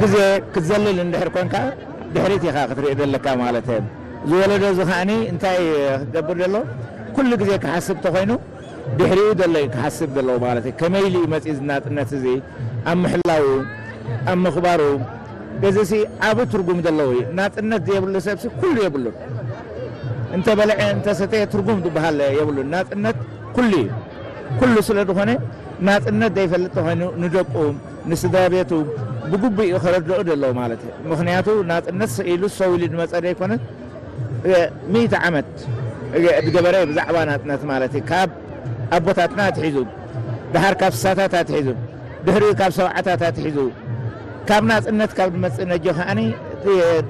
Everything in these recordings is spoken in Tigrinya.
ግዜ ክትዘልል እንድሕር ኮንካ ድሕሪት ኢኻ ክትርኢ ዘለካ ማለት እዩ። ዝወለዶ እዚ ከዓኒ እንታይ ክገብር ዘሎ? ኩሉ ግዜ ክሓስብ ተኾይኑ ድሕሪኡ ዘሎ እዩ ክሓስብ ዘለዎ ማለት እዩ። ከመይ ኢሉ እዩ መፂኡ እዚ ናፅነት እዚ ኣብ ምሕላው ኣብ ምኽባሩ? እዚ ሲ ዓቢ ትርጉም ዘለዎ እዩ። ናፅነት ዘየብሉ ሰብሲ ኩሉ የብሉን። እንተ በልዐ እንተ ሰተየ ትርጉም ዝበሃል የብሉን። ናፅነት ኩሉ እዩ። ኩሉ ስለ ዝኾነ ናፅነት ዘይፈልጥ ተኾይኑ ንደቁ ንስድራ ቤቱ ብግቡእ እዩ ከረድኦ ዘለዎ ማለት እዩ። ምኽንያቱ ናፅነት ስኢሉ ሰው ኢሉ ዝመፀ ዘይኮነ ሚእቲ ዓመት ዝገበረ ብዛዕባ ናፅነት ማለት እዩ። ካብ ኣቦታትና ኣትሒዙ፣ ድሓር ካብ ስሳታት ኣትሒዙ፣ ድሕሪኡ ካብ ሰብዓታት ኣትሒዙ፣ ካብ ናፅነት ካብ ዝመፅእ ነጆ ከዓኒ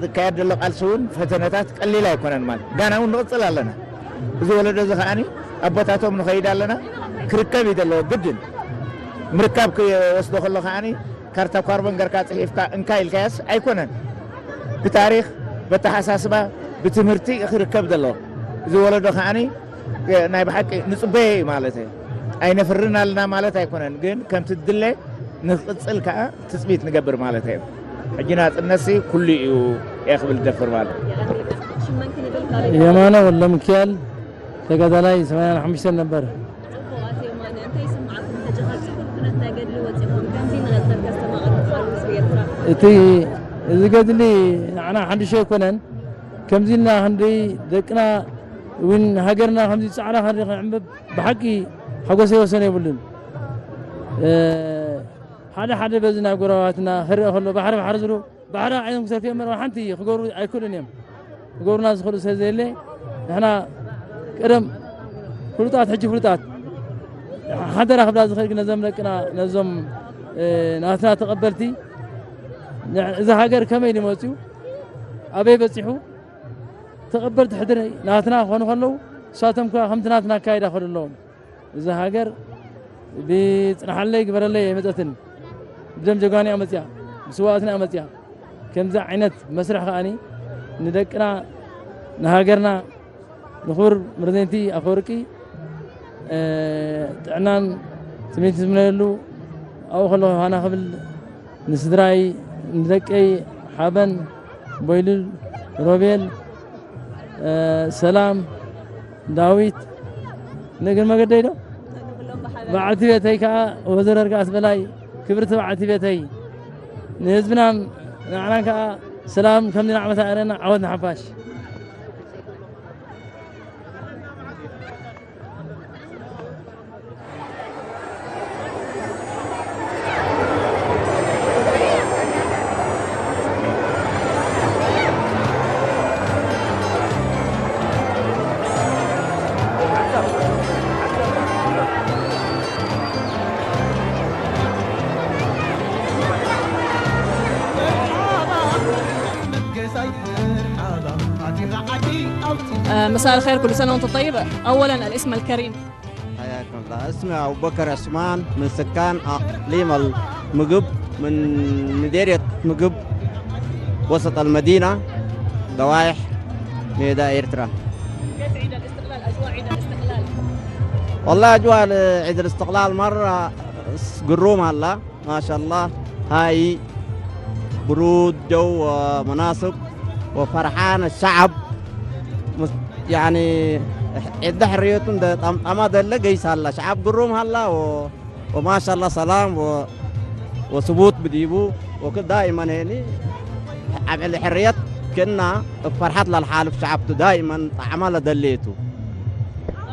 ዝካየድ ዘሎ ቃልሲ እውን ፈተነታት ቀሊል ኣይኮነን ማለት ጋና እውን ንቕፅል ኣለና። እዚ ወለዶ እዚ ከዓኒ ኣቦታቶም ንኸይድ ኣለና ክርከብ እዩ ዘለዎ ግድን። ምርካብ ክወስዶ ከሎ ከዓኒ ካርታ ኳርቦን ገርካ ፅሒፍካ እንካ ኢልካያስ ኣይኮነን። ብታሪክ፣ በተሓሳስባ፣ ብትምህርቲ ክርከብ ዘለዎ እዚ ወለዶ ከዓኒ ናይ ብሓቂ ንፅበዮ እዩ ማለት እዩ። ኣይነፍርን ኣለና ማለት ኣይኮነን፣ ግን ከምቲ ድለ ንክቕፅል ከዓ ትፅቢት ንገብር ማለት እዩ። ሕጂ ናፅነትሲ ኩሉ እዩ እየ ክብል ደፍር ማለት እዩ። የማነ ወልደሚካኤል ተጋዳላይ ሰማንያን ሓሙሽተን ነበር። እቲ እዚ ገድሊ ንዓና ሓድሽ ኣይኮነን። ከምዚ ኢልና ክንደይ ደቅና እውን ሃገርና ከምዚ ፃዕዳ ክንደይ ክንዕምብ ብሓቂ ሓጎሰይ ወሰን የብሉን። ሓደ ሓደ በዚ ናብ ጎረባትና ክረአ ከሎ ባሕሪ ባሕሪ ዝብሉ ባሕሪ ዓይኖም ክሰትዮ እምበር ሓንቲ ክገብሩ ኣይክእሉን እዮም። ክገብሩና ዝኽእሉ ስለ ዘየለ ንሕና ቀደም ፍሉጣት ሕጂ ፍሉጣት ሓደራ ክብላ ዝኽእል ግን ነዞም ደቅና ነዞም ናትና ተቐበልቲ እዛ ሃገር ከመይ ድመፅኡ ኣበይ በፂሑ ተቐበልቲ ሕድሪ ናትና ክኾኑ ከለዉ ንሳቶም ከ ከምቲ ናትና ኣካይዳ ክኸዱ ኣለዎም። እዛ ሃገር ብፅናሓለይ ግበረለይ ኣይመፀትን። ብደም ጀጋኑ እያ መፅያ፣ ብስዋእትና እያ መፅያ። ከምዚ ዓይነት መስርሕ ከዓኒ ንደቅና ንሃገርና ንኽቡር ፕረዚደንቲ ኣፈወርቂ ጥዕናን ስሜት ዝምነየሉ ኣብኡ ከለኹ ሃና ክብል ንስድራይ ንደቀይ ሓበን ቦይሉል ሮቤል ሰላም ዳዊት ንእግር መገደይ ዶ በዓልቲ ቤተይ ከዓ ወይዘሮ እርጋስ በላይ ክብርቲ በዓልቲ ቤተይ ንህዝብናን ንዓናን ከዓ ሰላም ከምዚ ንዓመታ ኣረና ዓወት ንሓፋሽ። مساء الخير، كل سنة وانت طيب. أولا الاسم الكريم. حياكم الله. اسمي أبو بكر عثمان، من سكان أقليم المقب، من مديرية مقب، وسط المدينة، ضوايح ميدا إيرترا. كيف عيد الاستقلال؟ أجواء عيد الاستقلال؟ والله أجواء عيد الاستقلال مرة قروم هلا، ما شاء الله. هاي برود جو ومناسب وفرحان الشعب. مس- يعني عند حريتهم ده طم- طما ده اللي قيس هلا شعب قروم هلا و- وما شاء الله سلام و- وثبوت بديبو وكل دائما هني عمل حرية كنا فرحت للحالف شعبته دائما طعمها لدليته.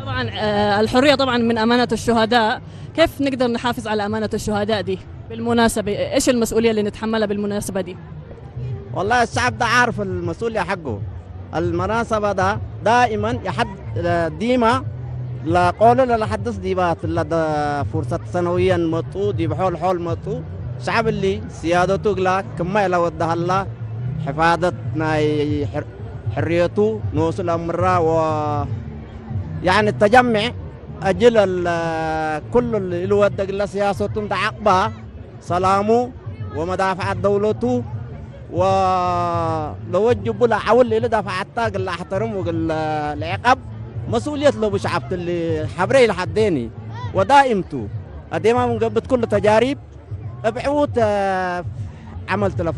طبعا آه، الحرية طبعا من أمانة الشهداء. كيف نقدر نحافظ على أمانة الشهداء دي بالمناسبة؟ إيش المسؤولية اللي نتحملها بالمناسبة دي؟ والله الشعب ده عارف المسؤولية حقه. المناسبة ده دائما يحد ديما لا قول لا حدث ديبات لا ده فرصة سنويا مطو دي بحول حول مطو شعب اللي سيادته لا كما إلى ودها الله حفاظة ناي حر- حريته نوصل أمره و يعني التجمع أجل ال- كل اللي ودق الله سياسة تعقبها سلامه ومدافعة دولته ولوجب له عول اللي دفعتها قال احترم وقال العقاب مسؤولية له بشعبت اللي حبري لحديني ودائمته أديما من قبل كل تجارب ابعوت آه، عمل تلفاي